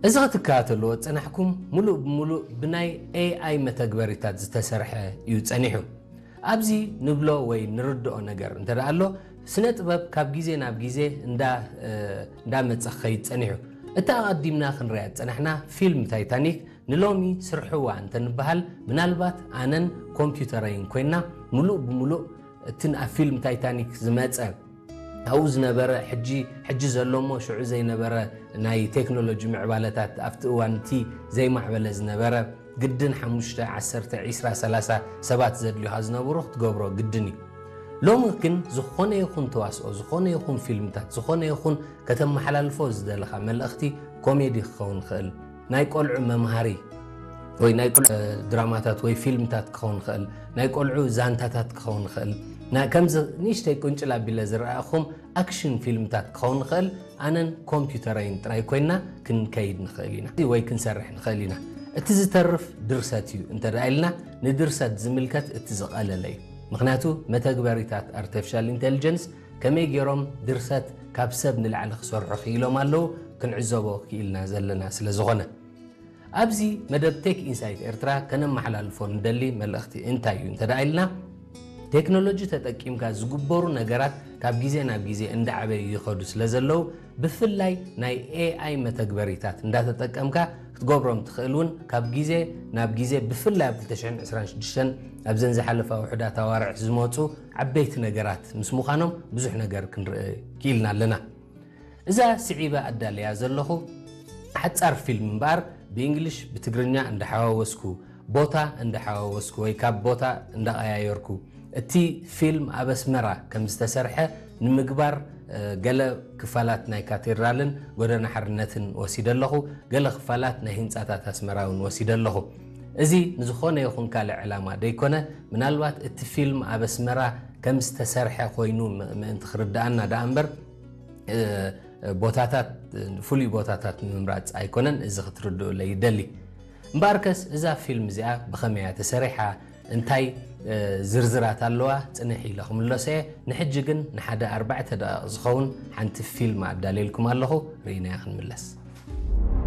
እዚ ክትከታተልዎ ዝጸናሕኩም ምሉእ ብምሉእ ብናይ ኤኣይ መተግበሪታት ዝተሰርሐ እዩ ጸኒሑ። ኣብዚ ንብሎ ወይ ንርድኦ ነገር እንተ ደኣ ኣሎ፣ ስነ ጥበብ ካብ ግዜ ናብ ግዜ እንዳ እንዳመጸ ክኸይድ ጸኒሑ። እታ ኣቐዲምና ክንሪኣ ዝጸናሕና ፊልም ታይታኒክ ንሎሚ ስርሕዋ እንተ ንበሃል፣ ምናልባት ኣነን ኮምፒውተረይን ኮይና፣ ምሉእ ብምሉእ እቲ ኣብ ፊልም ታይታኒክ ዝመጸ ኣብኡ ዝነበረ ሕጂ ሕጂ ዘሎ እሞ ሽዑ ዘይነበረ ናይ ቴክኖሎጂ ምዕባለታት ኣብቲ እዋን እቲ ዘይማዕበለ ዝነበረ ግድን ሓሙሽተ፣ ዓሰርተ፣ ዒስራ፣ ሰላሳ ሰባት ዘድልዩኻ ዝነበሩ ክትገብሮ ግድን እዩ። ሎሚ ግን ዝኾነ ይኹን ተዋስኦ፣ ዝኾነ ይኹን ፊልምታት፣ ዝኾነ ይኹን ከተመሓላልፎ ዝደለኻ መልእኽቲ ኮሜዲ ክኸውን ይኽእል፣ ናይ ቆልዑ መምሃሪ ወይ ናይ ቆልዑ ድራማታት ወይ ፊልምታት ክኸውን ይኽእል፣ ናይ ቆልዑ ዛንታታት ክኸውን ይኽእል፣ ከምዚ ንእሽተይ ቁንጭል ኣቢለ ዝረኣኹም ኣክሽን ፊልምታት ክኸውን ይኽእል። ኣነን ኮምፒውተረይን ጥራይ ኮይና ክንከይድ ንኽእል ኢና ወይ ክንሰርሕ ንኽእል ኢና። እቲ ዝተርፍ ድርሰት እዩ እንተ ደኣ ኢልና፣ ንድርሰት ዝምልከት እቲ ዝቐለለ እዩ። ምኽንያቱ መተግበሪታት ኣርቲፊሻል ኢንቴሊጀንስ ከመይ ገይሮም ድርሰት ካብ ሰብ ንላዕሊ ክሰርሑ ክኢሎም ኣለዉ፣ ክንዕዘቦ ክኢልና ዘለና ስለ ዝኾነ። ኣብዚ መደብ ቴክ ኢንሳይት ኤርትራ ከነመሓላልፎ ንደሊ መልእኽቲ እንታይ እዩ እንተ ደኣ ኢልና፣ ቴክኖሎጂ ተጠቂምካ ዝግበሩ ነገራት ካብ ግዜ ናብ ግዜ እንዳዓበዩ ይኸዱ ስለ ዘለዉ፣ ብፍላይ ናይ ኤኣይ መተግበሪታት እንዳተጠቀምካ ክትገብሮም ትኽእል እውን ካብ ግዜ ናብ ግዜ፣ ብፍላይ ኣብ ክልተ ሽሕን ዕስራን ሽዱሽተን ኣብዘን ዝሓለፋ ውሑዳት ኣዋርሕ ዝመፁ ዓበይቲ ነገራት ምስ ምዃኖም ብዙሕ ነገር ክንርኢ ክኢልና ኣለና። እዛ ስዒበ ኣዳልያ ዘለኹ ሓጻር ፊልም እምበኣር፣ ብእንግሊሽ ብትግርኛ እንዳሓዋወስኩ፣ ቦታ እንዳሓዋወስኩ ወይ ካብ ቦታ እንዳቐያየርኩ፣ እቲ ፊልም ኣብ ኣስመራ ከም ዝተሰርሐ ንምግባር፣ እ፣ ገለ ክፋላት ናይ ካቴድራልን ጎደና ሓርነትን ወሲደ ኣለኹ፣ ገለ ክፋላት ናይ ህንጻታት ኣስመራ እውን ወሲደ ኣለኹ። እዚ ንዝኾነ ይኹን ካልእ ዕላማ ደይኮነ፣ ምናልባት እቲ ፊልም ኣብ ኣስመራ ከም ዝተሰርሐ ኮይኑ ም-፣ ምእንቲ ክርድኣና ደኣ እምበር፣ እ፣ ቦታታት፣ ፍሉይ ቦታታት ንምምራጽ ኣይኮነን። እዚ ክትርድኡለይ ይደሊ። እምበኣርከስ እዛ ፊልም እዚኣ ብኸመይ እያ ተሰሪሓ፣ እንታይ፣ እ፣ ዝርዝራት ኣለዋ፣ ጽንሕ ኢለ ክምለሶ እየ። ንሕጂ ግን ንሓደ ኣርባዕተ ደቂቕ ዝኸውን ሓንቲ ፊልም ኣዳልየልኩም ኣለኹ፣ ርኢናያ ክንምለስ።